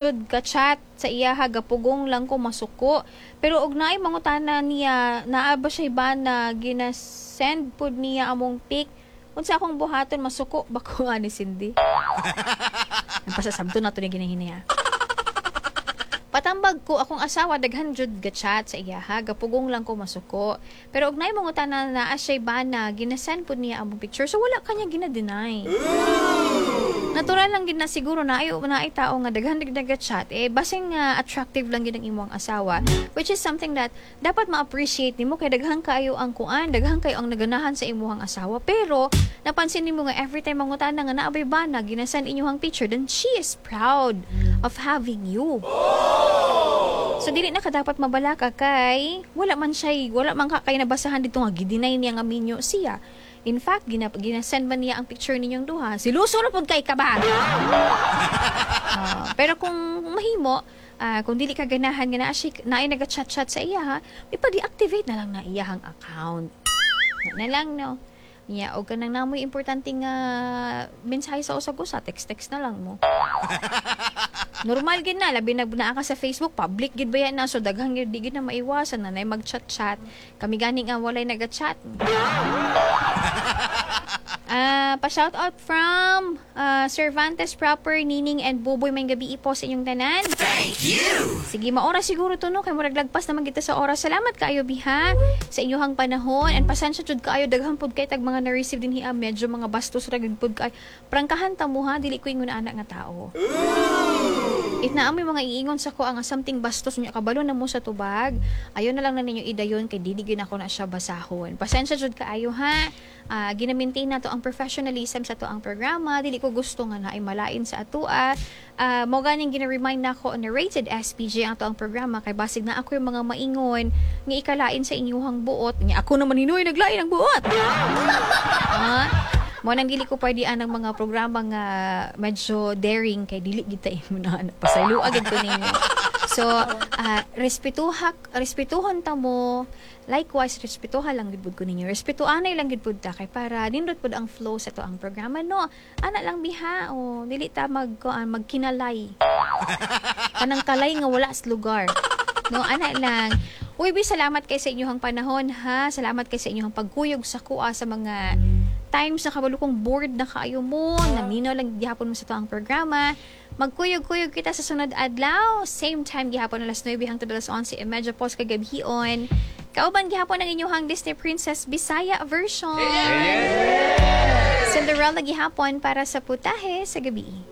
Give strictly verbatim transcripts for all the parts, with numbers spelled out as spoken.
Jud ka-chat sa iyaha, gapugong lang ko masuko. Pero og naay mangutana niya, naa ba siya bana, gina-send pud niya among pic. Unsa akong buhaton, masuko ba ko ani Cindy? Ang pasasabto na to ni ginahinaya. Patambag ko akong asawa daghan jud ga-chat sa iyaha, gapugong lang ko masuko. Pero og naay mangutana naa siya bana, gina-send pud niya among picture. So wala kanya gina-deny. Natural lang gid na siguro na ay naay tao nga daghan dig chat eh, basing nga attractive lang gid ang imong asawa, which is something that dapat ma-appreciate nimo kay daghan kaayo ang kuan, daghan kayo ang naganahan sa imong asawa. Pero napansin nimo nga every time mangutana nga naa bay bana, gina-send inyong picture, then she is proud of having you. So dili na ka dapat mabalaka kay wala man siya, wala man ka kay nabasahan dito nga gi-deny niya nga minyo siya. In fact, gina, gina-send man niya ang picture ninyong duha. Siluso ra pud kay ka ba? Ah, pero kung mahimo, ah, kung dili ka ganahan nga naa siya naay naga-chat-chat sa iya ha, ipa-deactivate na lang na iyahang account. Na, na lang, no. Nya og kanang namoy importante nga mensahe sa usag-usa, text-text na lang mo. Normal gid na, labi na naa ka sa Facebook, public gid ba yan na, so daghang gid di gid na maiwasan na nay mag-chat-chat. Kami gani nga walay naga-chat. Ah, pa-shout out from ah, Cervantes proper, Nining and Buboy, may gabi po sa inyong tanan. Thank you. Sige, maora siguro to, no, kay murag lagpas naman kita sa oras. Salamat kaayo biha sa inyong panahon and pasensya jud kaayo, daghan pud kay tag mga na-receive din hiya, medyo mga bastos ra gid pud kay. Prangkahan ta mo ha, dili ko ingon ana nga tao. If naa moy mga iingon sa ko ang something bastos niya, kabalo na mo sa tubag, ayo na lang na ninyo idayon kay dili gyud ako na siya basahon. Pasensya jud kaayo ha. Uh, gina-maintain nato ang professionalism sa ato ang programa. Dili ko gusto nga naay malain sa atua. Uh, mo ganing gina-remind nako na rated S P G ang ato ang programa kay basig na ako yung mga maingon nga ikalain sa inyuhang buot. Nya ako naman hinuy naglain ang buot. Ah, mo nang dili ko pwede anang mga programa nga medyo daring kay dili gid ta imo na pasaylo agad ko ninyo. So, uh, respetuha respetuhon ta mo. Likewise, respetuha lang gid pud ko ninyo. Respetuanay lang gid pud ta kay para nindot pud ang flow sa to ang programa, no. Ana lang biha o dili ta mag kuan, magkinalay. Kanang kalay nga wala sa lugar. No, ana lang. Uy, bi, salamat kay sa inyong panahon ha. Salamat kay sa inyong pagkuyog sa kuha sa mga times na kabalo kong bored na kaayo mo, naminaw lang gihapon mo sa to ang programa. Magkuyog-kuyog kita sa sunod adlaw. Same time gihapon, alas nuwebe hangtod alas onse y medya po sa kagabhion. Kauban gihapon ang inyong Disney Princess Bisaya version. Cinderella gihapon para sa Putahe sa Gabi.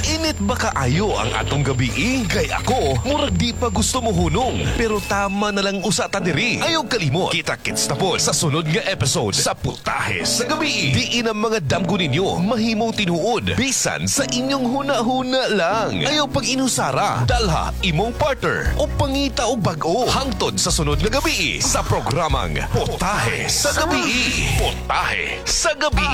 Init ba kaayo ang atong gabi? Kay ako, murag di pa gusto mo hunong. Pero tama na lang usa ta diri. Ayaw kalimot. Kita-kits na po sa sunod nga episode sa Putahe sa Gabi. Diin ang mga damgo ninyo mahimong tinuod. Bisan sa inyong huna-huna lang. Ayaw pag inusara. Dalha imong partner o pangita og bag-o. Hangtod sa sunod nga gabi sa programang Putahe sa Gabi. Putahe sa Gabi.